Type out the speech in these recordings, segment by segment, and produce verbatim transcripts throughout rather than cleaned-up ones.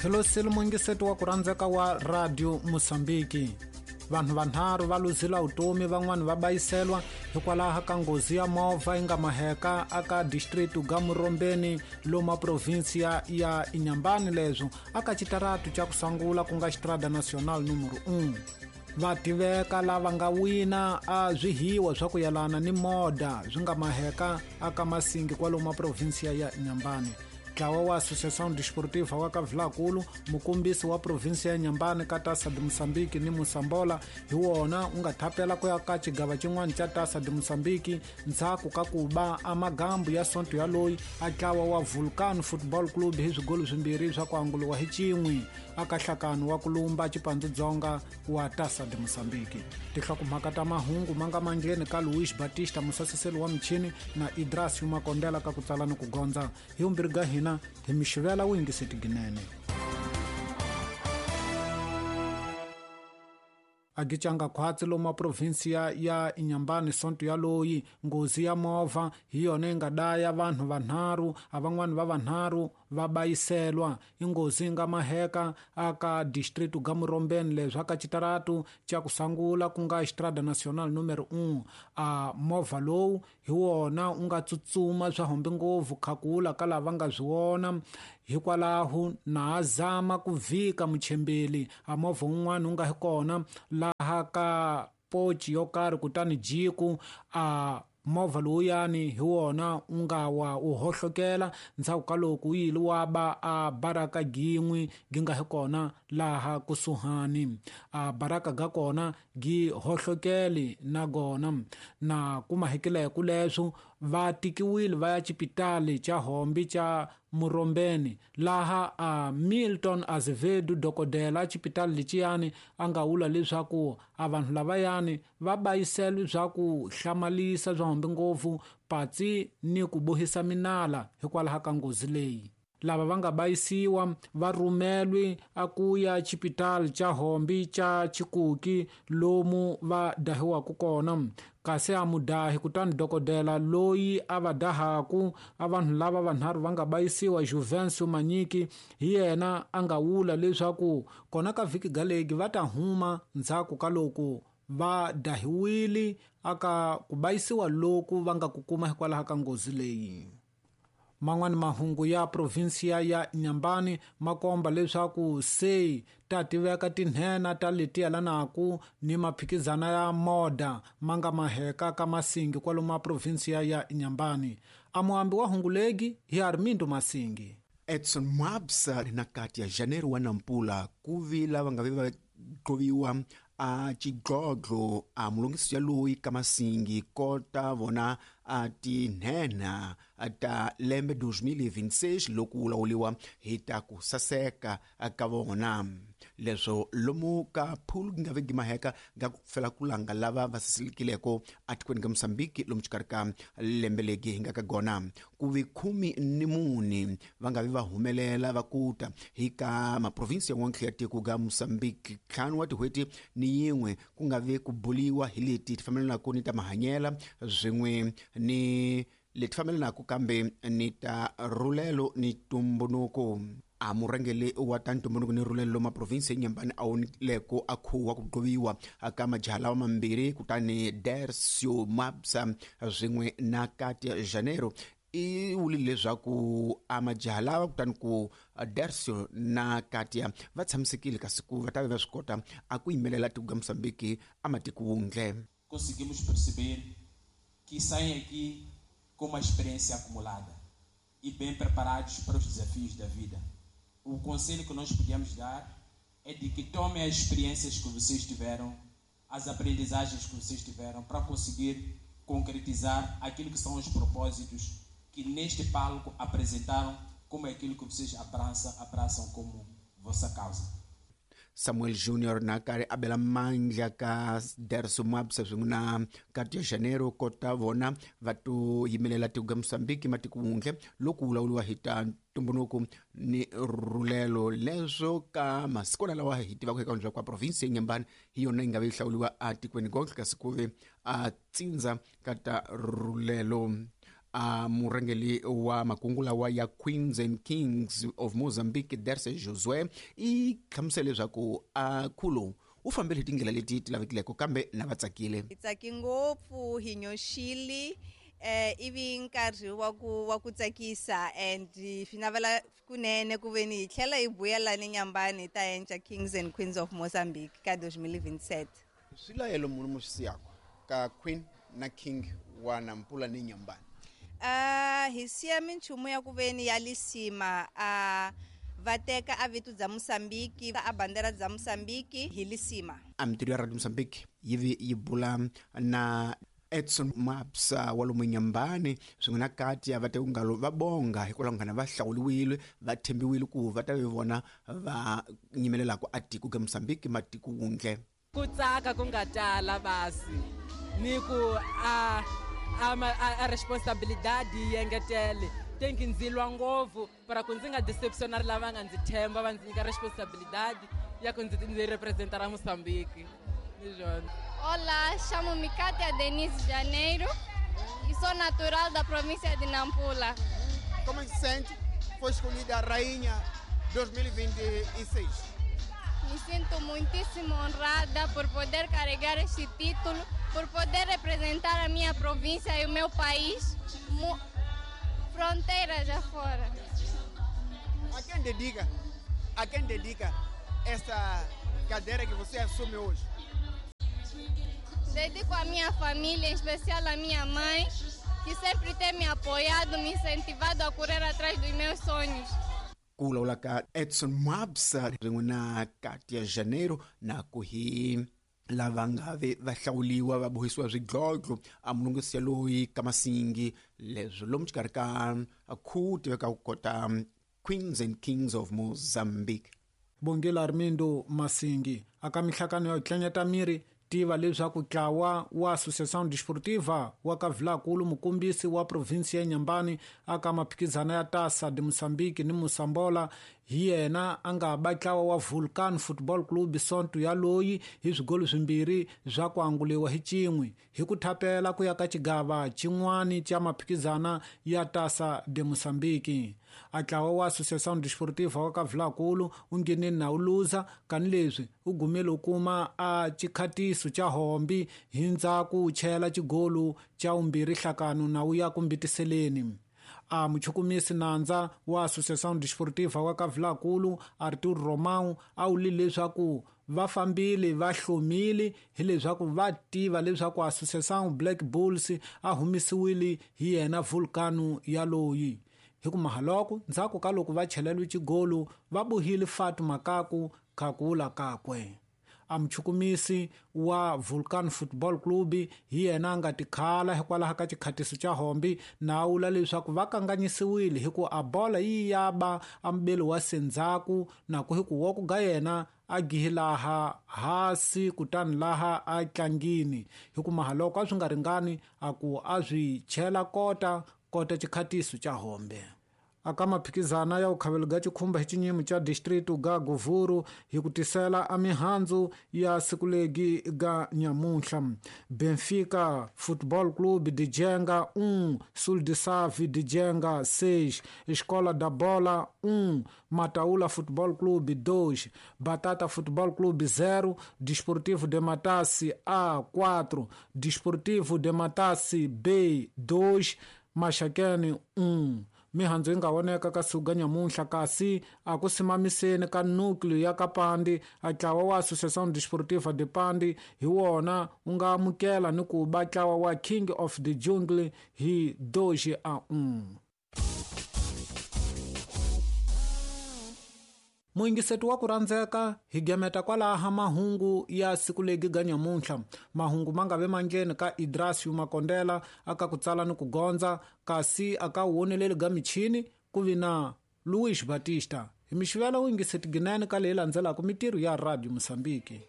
Hello mungiseti wa ku rhandzeka wa Radio Mozambique. Vanhu vanharhu va luzile vutomi, van'wani va bayiselwa hikwalaho ka nghozi ya movha yi nga maheka aka district ga Murombeni loma provinsia ya Inhambane, leswo aka xitaratu xa ku sungula ku nga Estrada Nacional numero um. Va tiveka lava nga wina a swihiwa swa ku yelana ni moda swi nga maheka aka Masingi kwalomu provinsia ya Inhambane. Ntlawa wa Associação Desportiva wa ka Vilakulu, mukombisi wa provinsia ya Inhambane ka Taça de Moçambique ni Moçambola, hi wona u nga thapela ku ya ka xigava xin'wana xa Taça de Moçambique ndzhaku ka ku ba a magambu ya sonto ya loyi a ntlawa wa Vulcano Football Club hi swigolo swimbirhi swa ku anguliwa hi xin'we aka nhlakano wa ku lumba Chipandzu Dzonga wa Taça de Moçambique. Tinhlokomhaka ta mahungu ma nga mandleni ka Luis Batista, musasiseli wa michini, na Idras Makondela ka ku tsala ni ku gondza. Hi vumbirhi ga hina hi mixivela wu yingiseti ginene. Agichanga khwatsi loma provinsia ya Inhambane sonto ya loyi nghozi ya movha hi yona yi nga daya vanhu vanharhu, a van'wani va vanharhu va bayiselwa. Inghozi yi nga maheka aka district ga Murombeni, leswi aka xitaratu xa ku sungula ku nga Estrada Nacional numero um. A movha lowu hi wona u nga tsutsuma swa hombe ngopfu khakula ka lava nga swi vona, hikwalaho na zama ku vhika muchembeli a movha wun'wana wu nga hi kona laha ka pochi yo karhi, kutani jiku a movha lowuyani hi wona u nga wa u hohlokela ndzhaku ka loko wu yile wa ba a baraka gin'we gi nga hi kona laha kusuhani. A baraka ga kona gi hohlokeli na gona na kuma hikileko leswo va tikiwile va ya xipitali xa Hombi xa Murombeni, laha a Milton Azevedo dokodela xipitali lexiyani a nga vula leswaku a vanhu lavayani va bayisela swa ku hlamalisa swa hombi ngopfu patsi ni ku bohisa minala hikwalaho ka nghozi leyi. Lava va nga bayisiwa va rhumelwi a ku ya xipitali xa Hombi xa Chikuki lomu va dahiwaka kona, kasi a mudahi kutani dokodela loyi a va dahaku a vanhu lava vanharhu va nga bayisiwa, Juvencio Manyiki, hi yena a nga vula leswaku kona ka vhiki galegi va ta huma ndzhaku ka loko va dahiwile aka ku bayisiwa loku va nga ku kuma hikwalaho ka nghozi leyi. Man'wani mahungu ya provinsia ya Inhambane ma komba leswaku se ta tiveka tinhena ta leti yelanaka ni maphikizana ya moda ma nga maheka ka Masingi kwalomu a provinsia ya Inhambane. A muambi wa hungu legi hi Armindo Masingi. Edson Mwabsa na kati ya Janeiro wa Nampula ku vi lava nga ve va qoviwa a xidlodlo a mulungisi ya loyi ka Masingi kota vona a tinhenha ta lembe dos mil e vinte e seis loko wu lawuriwa hi ta ku saseka ka vona. Leswo lomu ka phulu nga ve gimaheka ga ku fela ku langa lava va sasekileko atikweni ka Mozambique lomu xikarhi ka lembe legi hi nga ka gona ku vi khumi ni mune va nga vi va humelela va kuta hi ka maprovinsi yan'wana ya tiko ga Mozambique ntlhanu wa tin'hweti ni yin'we ku nga vi ku buliwa hi leti ti fambelanaka ni ta mahanyela swin'we ni leti fambelanaka kambe ni ta rhulelo ni ntumbuluko. A murhangeri wa ta ntumbuluko ni rhulelo loma provinsi ya Inhambane a wonileko a khuwa ku qoviwa ka majaha lawa mambirhi, kutani Dercio Mabsa swin'we na Katia Janeiro i vulile leswaku a majaha lawa kutani ku Dercio na Katia va tshamisekile kasi ku va ta va swi kota a ku yimelela tiko ra Mozambique a matiko wundle. Conseguimos perceber que saem aqui com uma experiência acumulada e bem preparados para os desafios da vida. O conselho que nós podemos dar é de que tomem as experiências que vocês tiveram, as aprendizagens que vocês tiveram, para conseguir concretizar aquilo que são os propósitos que neste palco apresentaram como aquilo que vocês abraçam, abraçam como vossa causa. Samuel Junior na karhi a bela mandla ka Dercio Mabsa swin'we na Katia Janeiro kota vona va to yimelela tiko ra Mozambique matiko wundle loko wu lawuriwa hi ta ntumbuluko ni rhulelo. Leswo ka masiku lawa hi tivaka eka ndzhaku ka provinsi ya Inhambane hi yona yi nga ve yi hlawuriwa atikweni gonke kasi ku ve a tsindza ka ta rhulelo. A murhangeri wa makungu lawa ya Queens and Kings of Mozambique Derse Josué i hlamusele leswaku a khulo u fambile hi tindlela leti ti lavekileko kambe na va tsakile. Hi tsaki ngopfu hi nyoxile eh ivi nkarhi wa ku wa ku tsakisa and swi navela kunene ku veni hi tlhela hi vuyela ni Nyambani hi ta endla Kings and Queens of Mozambique ka twenty twenty-seven. Swilayelo munhu mo swi siyaka ka Queen na King wa Nampula ni Nyambani? Uh, hi siya minchumu ya ku veni ya lisima a uh, va teka a vito bya Mozambique a bandera bya Mozambique hi lisima. A mintirho ya Radio Mozambique yi vi yi bula na Edson Mapsa wa lomu Nyambani swin'we na kati ya va te ngalo va bonga hikwalaho nghana va hlawuliwile va thembiwile ku va ta vi vona va nyimelelaka a tiko ka Mozambique matiko wundle. Ku tsaka ku nga tala basi ni ku a a, a, a responsabilidade yi engetele tem que ndzi lwa ngopfu para ku ndzi nga decepcionar lava nga ndzi themba va ndzi nyika responsabilidade ya ku ndzi ndzi representar a Moçambique. Olá, chamo-me Cátia Denise Janeiro e sou natural da província de Nampula. Como se sente? Foi escolhida a rainha dois mil e vinte e seis. Me sinto muitíssimo honrada por poder carregar este título, por poder representar a minha província e o meu país, fronteiras afora. A quem dedica, a quem dedica essa cadeira que você assume hoje? Dedico à minha família, em especial à minha mãe, que sempre tem me apoiado, me incentivado a correr atrás dos meus sonhos. Ku lawula ka Edson Mabsa rin'we na Katia Janeiro na ku hi lava nga ve va hlawuliwa va bohisiwa swidlodlo a mulungisi ya loyi ka Masingi leswi lomu xikarhi ka khu tiveka ku kota Queens and Kings of Mozambique. Bongela Armindo Masingi aka mihlakano ya tlanyata miri tiva leswaku ntlawa wa Associação Desportiva wa Kavilakulu mukombisi wa provinsi ya Nyambani aka maphikizano ya Taça de Moçambique ni Moçambola hi yena a nga ba ntlawa wa Vulcan Football Club Sonto ya loyi hi swigolo swimbirhi swa ku anguliwa hi cin'we hi ku thapela ku ya ka xigava xin'wani xa maphikizana ya Taça de Moçambique. A ntlawa wa Associação Desportiva wa Kavilakulu u nghenile na wu luza kani leswi u gumile u kuma a xikhatiso xa hombi hi ndzhaku u chela xigolo xa vumbirhi nhlakano na wu ya ku mbitiseleni. A muchukumisi nandza wa Associação Desportiva wa Kavilakulu Arthur Romão a wule leswaku va fambile va hlomile hileswaku va tiva leswaku Associação Black Bulls a humisiwile hi yena Vulcano ya loyi. Hi ku mahaloko ndzhaku ka loko va cheleliwe xigolo va bohile Fatu Makaku khakula kakwe. A muchukumisi wa Vulcan Football Club hi yena a nga tikhala hikwalaho ka xikhatiso xa hombi na wula leswaku va kanganyisiwile hi ku a bola yi ya ba a mbeli wa sendzhaku na ku hi ku wa ku ga yena a gihi laha hasi kutani laha a tlangini hi ku mahaloko a swi nga ringani a ku a swi chela kota kota xikhatiso xa hombe. Aka maphikizana ya ukhavelo ga xikhumba hi xinyimo xa district ga Govuru hi ku tisela a mihandzu ya sikulegi ga nyamuntlha. Benfica Football Club de Jenga um, Sul de Save de Jenga seis, Escola da Bola um, Mataula Football Club dois, Batata Football Club zero, Desportivo de Matassi A quatro, Desportivo de Matassi B dois, Maxaquene um. Mihandzu yi nga voneka ka siku ga nyamuntlha kasi a ku simamiseni ka núcleo ya Kapandi a ntlawa wa Associação Desportiva de Pandi hi wona wu nga amukela ni ku ba ntlawa wa King of the Jungle hi dois a um. Muyingiseti wa ku rhandzeka hi gemeta kwalaha mahungu ya siku legi ga nyamuntlha. Mahungu ma nga ve mandleni ka Idrasio Makondela aka ku tsala ni ku gondza kasi aka woneleli ga michini ku vi na Luis Batista. Hi mixivela wuyingiseti ginene ka leyi landzelaka mitirho ya Radio Mozambique.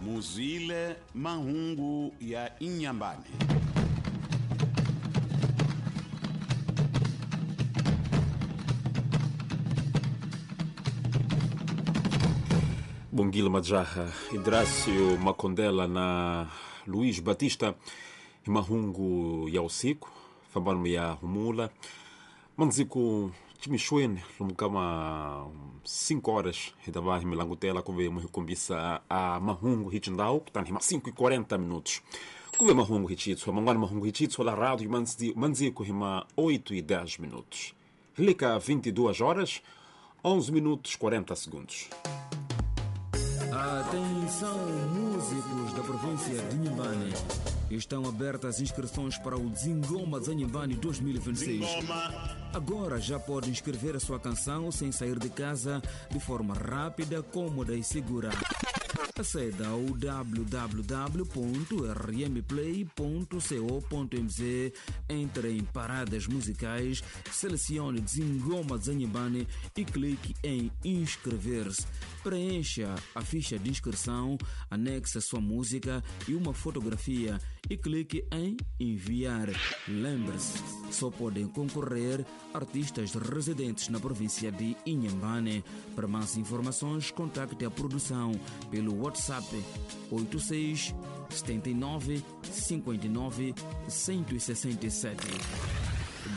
Muzile mahungu ya Inhambane. Bongile Majaha, Idrácio Macondela na Luís Batista, mahungu ya usiku fambano ya humula manziku chimixweni lomu kama cinco horas hi ta va hi mi langutela kumbe mu hi kombisa a mahungu hi xindhawu kutani hi ma cinco e quarenta minutos ku ve mahungu hi xitshwa man'wana mahungu hi xitshwa la rádio mandziku hi ma oito e dez minutos hi le ka vinte e duas horas onze minutos quarenta segundos. Atenção, músicos da província de Inhambane. Estão abertas as inscrições para o Zingoma de Inhambane dois mil e vinte e seis. Agora já pode inscrever a sua canção sem sair de casa, de forma rápida, cômoda e segura. Aceda ao w w w ponto r m play ponto co ponto m z, entre em paradas musicais, selecione Zingoma de Inhambane e clique em inscrever-se. Preencha a ficha de inscrição, anexe a sua música e uma fotografia e clique em enviar. Lembre-se, só podem concorrer artistas residentes na província de Inhambane. Para mais informações, contacte a produção pelo WhatsApp oito seis, setenta e nove, cinquenta e nove, cento e sessenta e sete.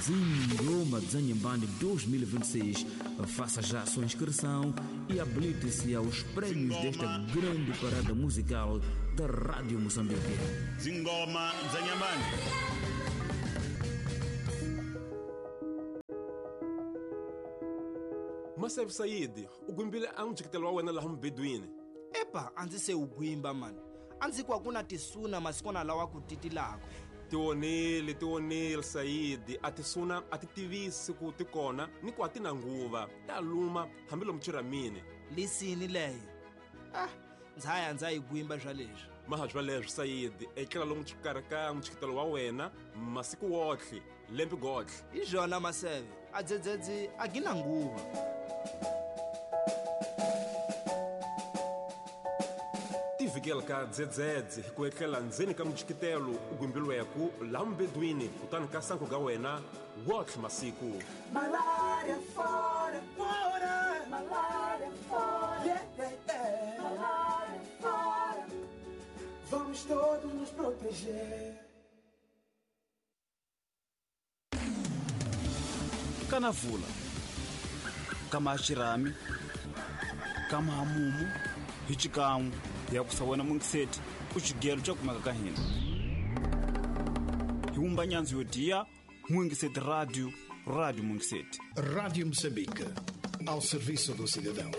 Zingoma de Inhambane dois mil e vinte e seis. Faça já a sua inscrição e habilite-se aos prêmios desta grande parada musical da Rádio Moçambique. Zingoma de Inhambane. Maseve Said, o gwimbile a n'wi wa wena laha mubedwini. Epa, a ndzi se u gwimba mani. A ndzi ku a ku na tisuna masikwana lawa ku titilaka. Tionile, tionile Said, a tisuna a ti tivisi ku ti kona ni ku a ti na nguva. Ta luma hambi lomu chiramini. Lisini leyo. Ah, ndza ya ndza yi gwimba swa leswi. Maha swa leswi Said, etlela lomu xikarhi ka mutshikitelo wa wena masiku wotlhe, lembe gotlhe. Hi swona Maseve, a dzedzedzi a gi na nguva. Tivikela ka dzedzedze hi ku etlela ndzeni ka mutshikitelo u gwimbilweku laha mubedwini kutani ka sanku ga wena wotlhe masiku. Malaria fora, fora, malaria fora, yeah, yeah, yeah. Malaria fora, vamos todos nos proteger. Kanavula, kama xirhami, kama hamumu, hi xikan'we ya ku sa wena mungiseti ku xigelo xa kumeka ka hina. Hi wumba nyandzu yo diya Mungiseti Radio, Rádio Mungiseti. Rádio Moçambique, ao serviço do cidadão.